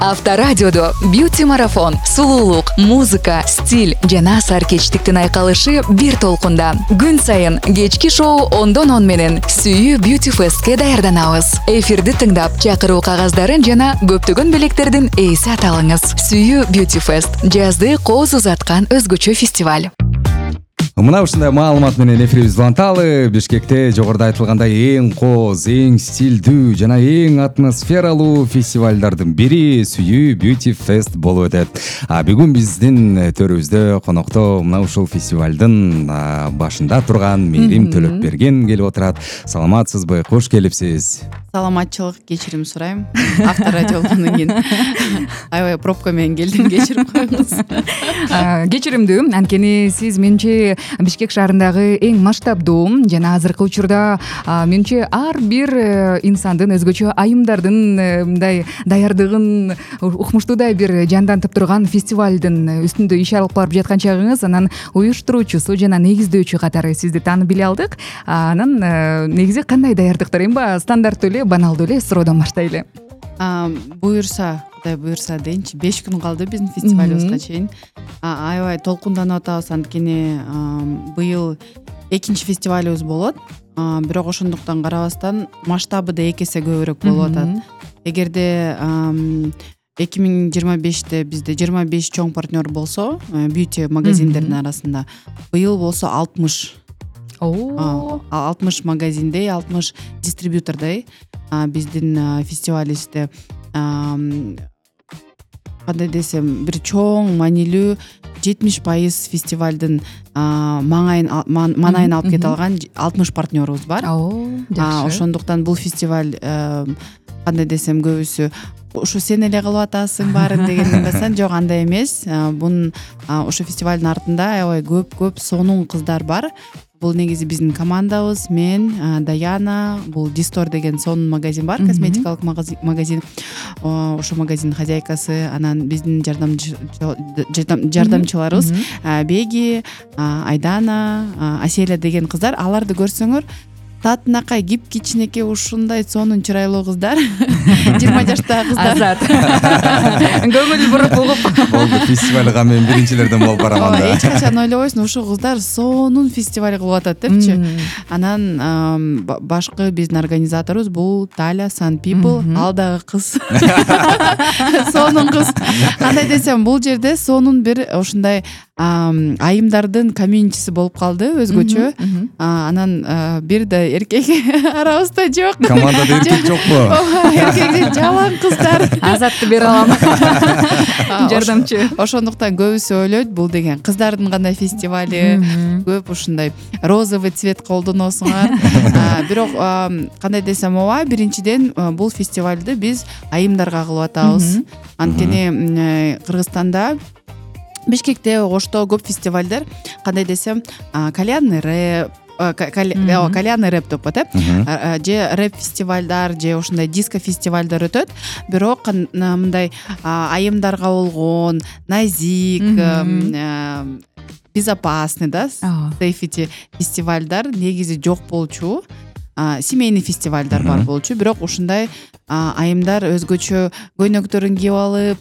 Авторадиодо бьюти марафон, сулуулук, музыка, стиль жана саркечтиктин айкалышы бир толкунда. Күн сайын кечки шоу 10-10 менен Сүйүү Beauty Fest'ке даярданабыз. Эфирди тыңдап, чакыруу кагаздарын жана көптөгөн белектердин ээси аталыңыз. Сүйүү Beauty Fest жазды кооз узаткан өзгөчө фестиваль. Мына ушундай маалымат менен эфирибизди уланталы. Бишкекте жогоруда айтылгандай эң кооз, эң стилдүү жана эң атмосфералуу фестивалдардын бири Сүйүү Beauty Fest болуп өтөт. Бүгүн биздин төрүбүздө конокто мына ушул фестивалдын башында турган Мээрим Төлөпберген келип отурат. Саламатсызбы? Кош келипсиз. Саламатчылык, кечирим сурайм. Авторадиодон кийин аябай пробка менен келдим, кечирип коюңуз. Кечиримдүү, анткени сиз менче Бишкек шаарындагы эң масштабдуу жана азыркы учурда менче ар бир инсандын өзгөчө айымдардын мындай даярдыгын укмуштуудай бир жандантып турган фестивалдын үстүндө иш алып барып жаткан чагыңыз, анан уюштуруучусу жана негиздөөчү катары сизди таанып биле алдык. Анан негизи кандай даярдыктар, эми стандарттуу эле, баналдуу эле суроодон баштайлы. Буюрса, Кудай буюрса дейинчи, 5 күн калды биздин фестивалыбызга чейин. Аябай толкунданып атабыз, анткени быйыл экинчи фестивалыбыз болот. Бирок ошондуктан карабастан масштабы да 2 эсе көбүрөөк болуп атат. Эгерде 2025-те бизде 25 чоң партнер болсо, бьюти магазиндердин арасында, быйыл болсо 60 магазиндей, 60 дистрибьютордой биздин фестивалибизде кандай десем, бир чоң маанилүү 70% фестивалдын маанайын алып кете алган 60 партнерубуз бар. Ошондуктан бул фестиваль кандай десем, көбүсү ушу сен эле кылып атасың баарын деген ыңгасан, жок, андай эмес. Бунун ушу фестивалдын артында аябай көп сонун кыздар бар. Бул негизи биздин командабыз, мен, Даяна, бул Дистор деген сонун магазин бар, косметикалык магазин. Ошо магазиндин хозяйкасы, анан биздин жардамчыларыбыз Беги, Айдана, Аселя деген кыздар. Аларды көрсөңөр, татынакай кичинекей ушундай сонун чырайлуу кыздар, 20 жаштагы кыздар. Азат. Көңүл буруп угуп. Болду, фестивалга мен биринчилерден болуп бараман да. Эч качан ойлобойсуң, ушул кыздар сонун фестиваль кылып атат депчи. Анан башкы биздин организаторубуз бул Таля Sun People, ал дагы кыз. Сонун кыз. Кандай десем, бул жерде сонун бир ушундай айымдардын комьюнитиси болуп калды, өзгөчө. Анан бир да эркек арабызда жок. Командада эркек жокпу? Эркек жалаң кыздар. Азатты бере алам. Жардамчы. Ошондуктан көбүсү ойлойт, бул деген кыздардын гана фестивали, көп ушундай розовый цвет колдоносуңар. Бирок кандай десем, биринчиден бул фестивалды биз айымдарга кылып атабыз. Анткени Кыргызстанда, Бишкекте, Ошто көп фестивалдар, кандай десем, кальянный рэп, кальянный рэп деп атат, же рэп фестивалдар, же ушундай диско фестивалдар өтөт. Бирок мындай айымдарга болгон назик, безопасный да, сейфити фестивалдар негизи жок болчу. Семейный фестивалдар бар болчу, бирок ушундай айымдар өзгөчө көйнөктөрүн кийип алып,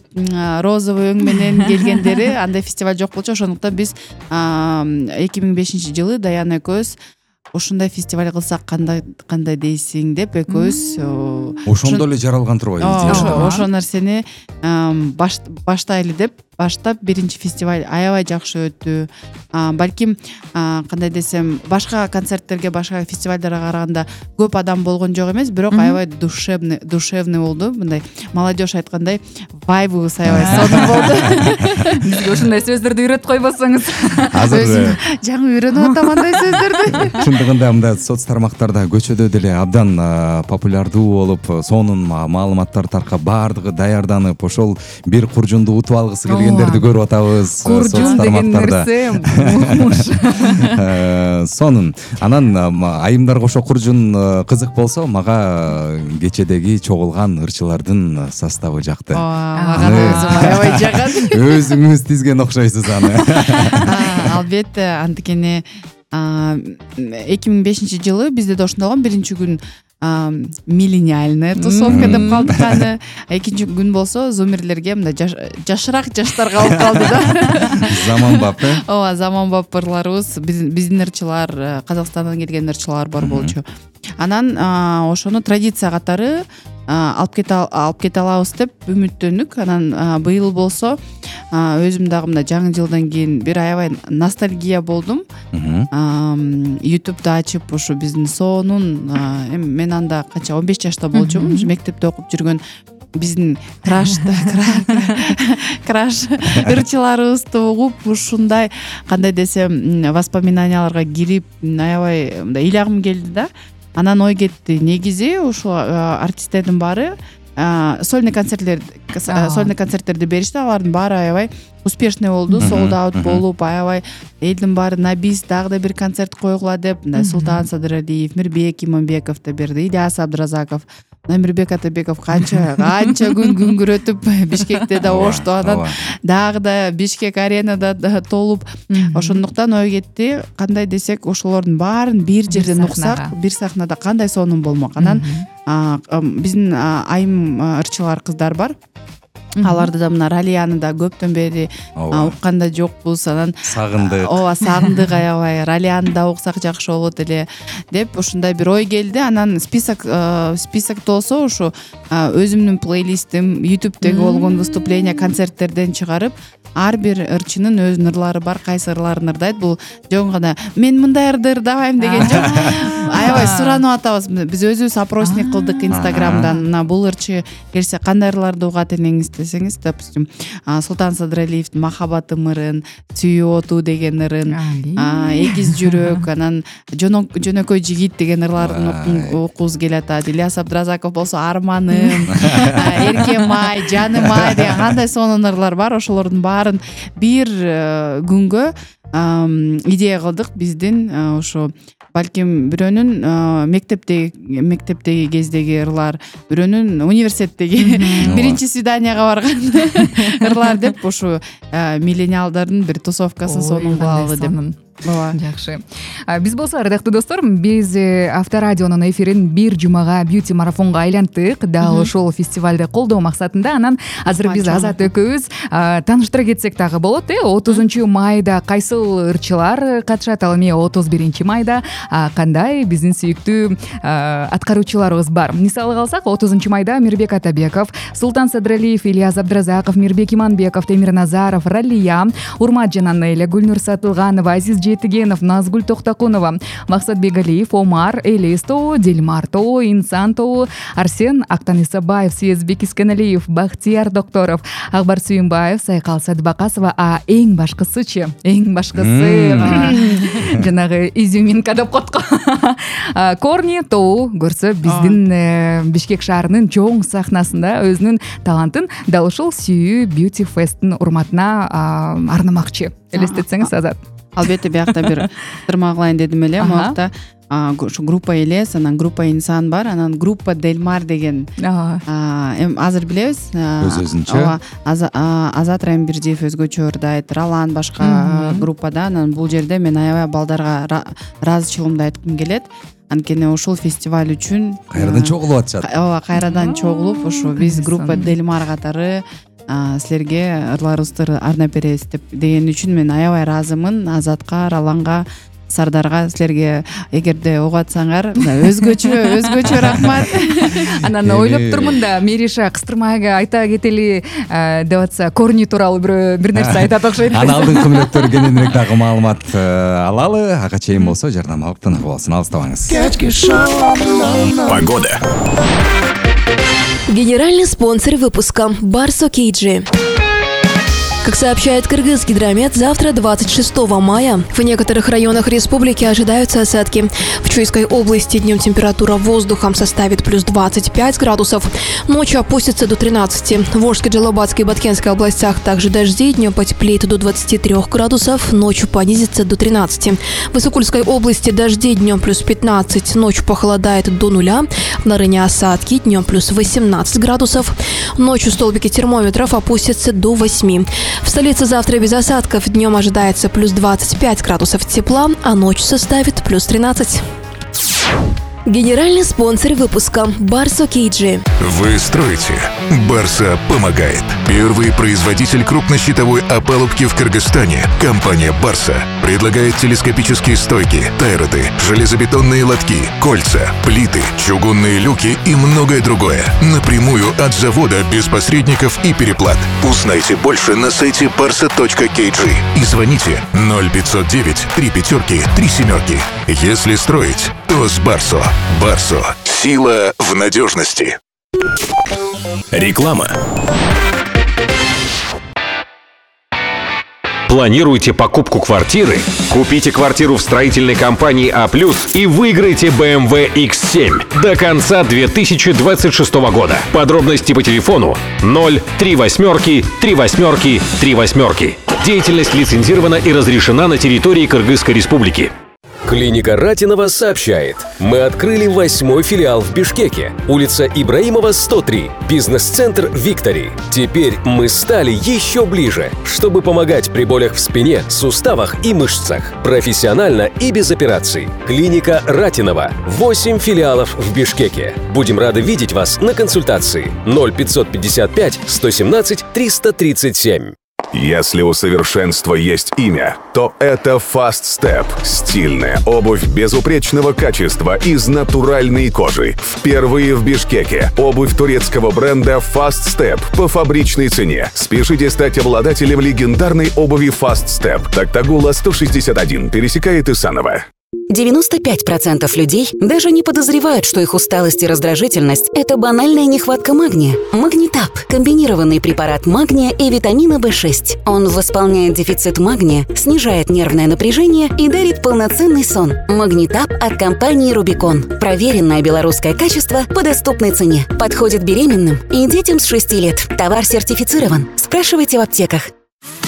розовый өң менен келгендери, андай фестиваль жок болчу. Ошондуктан биз 2005-жылы Даяна экөөбүз ушундай фестиваль кылсак кандай дейсиң деп экөөбүз ошондо эле жаралган турбайбы? Ошол нерсени баштайлы деп баштап, биринчи фестиваль аябай жакшы өттү. Балким кандай десем, башка концерттерге, башка фестивалдарга караганда көп адам болгон жок эмес, бирок аябай душевный болду. Мындай молодежь айткандай вайбыбыз аябай сонун болду. Бизге ушундай сөздөрдү үйрөтүп койбосоңуз. Азыр жаңы үйрөнүп атам андай сөздөрдү. Чындыгында мындай соц тармактарда көчөдө деле абдан популярдуу болуп, сонун маалыматтар таркап, баардыгы даярданып, ошол бир куржунду утуп алгысы келгендерди көрүп атабыз соц тармактарда. Сонун. Анан айымдарга ошо куржун кызык болсо, мага кечедеги чогулган ырчылардын составы жакты. Аябай жагат. Өзүңүз тизген окшойсуз аны. Албетте, анткени 2005-жылы бизде да ошондой болгон. Биринчи күн миллениальная тусовка деп калдык аны. Экинчи күн болсо зумерлерге мындай жашыраак жаштарга алып калды да. Заманбап ооба, заманбап ырларыбыз, биздин ырчылар, Казакстандан келген ырчылар бар болчу. Анан ошону традиция катары алып кете алабыз деп үмүттөнүк. Анан быйыл болсо өзүм дагы мына жаңы жылдан кийин бир аябай ностальгия болдум. YouTube'да ачып ушу биздин сонун, мен анда канча 15 жашта болчумун, мектепте окуп жүргөн биздин краш ырчыларыбызды угуп, ушундай кандай десем воспоминанияларга кирип аябай мындай ыйлагым келди да. Анан ой кетти, негизи ушул артисттердин баары сольный концерттерди беришти, алардын баары аябай успешный болду, sold out болуп, аябай элдин баары на бис дагы да бир концерт койгула деп, мындай Султан Садыралиев, Мирбек Иманбеков да берди, Ильяс Абдразаков, Мирбек Атабеков канча күн күнгүрөтүп Бишкекте да ошту, анан дагы да Бишкек аренада толуп. Ошондуктан ой кетти, кандай десек ошолордун баарын бир жерден уксак, бир сахнада кандай сонун болмок. Анан биздин айым ырчылар кыздар бар. Аларды да мына Ралияны да көптөн бери укканда жокпуз. Анан сагындык. Ооба, сагындык аябай. Ралияны да уксак жакшы болот эле деп ушундай бир ой келди. Анан список болсо ушу өзүмдүн плейлистим, YouTube'деги болгон выступление, концерттерден чыгарып, ар бир ырчынын өзүнүн ырлары бар, кайсы ырларын ырдайт. Бул жөн гана мен мындай ырды ырдабайм деген жок. Аябай суранып атабыз. Биз өзүбүз опросник кылдык Instagram'дан. Мына бул ырчы келсе кандай ырларды угат элеңиз десеңиз, допустим, Султан Садыралиевдин Махаббатым ырын, Сүйүү оту деген ырын, Эгиз жүрөк, анан Жөнөкөй жигит деген ырларын окугубуз келатат. Ильяс Абдразаков болсо Арманым, Эркем ай, Жаным ай деген кандай сонун ырлар бар. Ошолордун баарын бир күнгө идея кылдык. Биздин ошо балким бирөөнүн мектептеги кездеги ырлар, бирөөнүн университеттеги биринчи свиданияга барган ырлар деп ушу миллениалдардын бир тусовкасын сонун кылалы деп. Ооба, жакшы. Биз болсо ардактуу достор, биз Авторадионун эфирин бир жумага бьюти марафонго айлантык. Дал ошол фестивалды колдоо максатында. Анан азыр биз Азат экөөбүз тааныштыра кетсек дагы болот. 30 майда кайсыл ырчылар катышат, ал эми 31 майда кандай биздин сүйүктүү аткаруучуларыбыз бар. Мисалы алсак, 30 майда Мирбек Атабеков, Султан Садыралиев, Ильяс Абдразаков, Мирбек Иманбеков, Темир Назаров, Ралия, Урмат Жананеле, Гүлнур Сатылганова, Азиз Жетигенов, Назгүл Токтокунова, Максат Бегалиев, Омар, Элес тобу, Дилмар тобу, Инсан тобу, Арсен Актанисабаев, Съезбек Искеналиев, Бахтияр Докторов, Акбар Сүйүнбаев, Сайкал Садыбакасова, эң башкысы жанагы изюминка деп котко Корни тобу көрсө биздин Бишкек шаарынын чоң сахнасында өзүнүн талантын дал ушул Сүйүү Beauty Fest'ин урматына арнамакчы. Элестетсеңиз, Азат. Албетте, биякта бир тырма кылайын дедим эле. Могакта ушу группа Элес, анан группа Инсан бар, анан группа Делмар деген азыр билебиз. Өзүнчө. Азат Райымбирдиев өзгөчө ырдайт, Ралан башка группада. Анан бул жерде мен аябай балдарга ыраазычылыгымды айткым келет. Анткени ушул фестиваль үчүн кайрадан чогулуп атышат. Ооба, кайрадан чогулуп ушу биз группа Делмар катары силерге ырларыбызды арнап беребиз деген үчүн мен аябай ыраазымын. Азатка, Раланга, Сардарга силерге эгерде угатсаңар өзгөчө рахмат. Анан ойлоп турмун да, Мериша кыстырмага айта кетели деп атса, Корни тууралуу бир нерсе айтат окшойт. Анан алдыңкы мүнөттөр кененирээк дагы маалымат алалы. Ага чейин болсо жарнамалык тынык болсун. Алыстабаңыз. Погода. Генеральный спонсор выпуска Барсо Кейджи. Как сообщает Кыргызгидромет, завтра, 26 мая, в некоторых районах республики ожидаются осадки. В Чуйской области днем температура воздуха составит плюс 25 градусов, ночью опустится до 13. В Волжской, Джалабатской и Баткенской областях также дожди, днем потеплеет до 23 градусов, ночью понизится до 13. В Исыкульской области дожди, днем плюс 15, ночью похолодает до 0. В Нарыне осадки, днем плюс 18 градусов, ночью столбики термометров опустятся до 8. В столице завтра без осадков, днем ожидается плюс 25 градусов тепла, а ночью составит плюс 13. Генеральный спонсор выпуска Барсо Кейджи. Вы строите, Барса помогает. Первый производитель крупнощитовой опалубки в Кыргызстане, компания Барса, предлагает телескопические стойки, тайроды, железобетонные лотки, кольца, плиты, чугунные люки и многое другое. Напрямую от завода, без посредников и переплат. Узнайте больше на сайте barsa.kg и звоните 0509 3 пятерки 3 семерки. Если строить, то с Барсо. Барсо. Сила в надежности. Реклама. Планируете покупку квартиры? Купите квартиру в строительной компании А+, и выиграйте BMW X7 до конца 2026 года. Подробности по телефону 038 38 38. Деятельность лицензирована и разрешена на территории Кыргызской Республики. Клиника Ратинова сообщает. Мы открыли 8-й филиал в Бишкеке. Улица Ибраимова, 103. Бизнес-центр «Виктори». Теперь мы стали еще ближе, чтобы помогать при болях в спине, суставах и мышцах. Профессионально и без операций. Клиника Ратинова. 8 филиалов в Бишкеке. Будем рады видеть вас на консультации. 0555 117 337. Если у совершенства есть имя, то это Fast Step. Стильная обувь безупречного качества из натуральной кожи. Впервые в Бишкеке. Обувь турецкого бренда Fast Step по фабричной цене. Спешите стать обладателем легендарной обуви Fast Step. Токтагула 161 пересекает Исаново. 95% людей даже не подозревают, что их усталость и раздражительность – это банальная нехватка магния. Магнитап – комбинированный препарат магния и витамина В6. Он восполняет дефицит магния, снижает нервное напряжение и дарит полноценный сон. Магнитап от компании «Рубикон». Проверенное белорусское качество по доступной цене. Подходит беременным и детям с 6 лет. Товар сертифицирован. Спрашивайте в аптеках.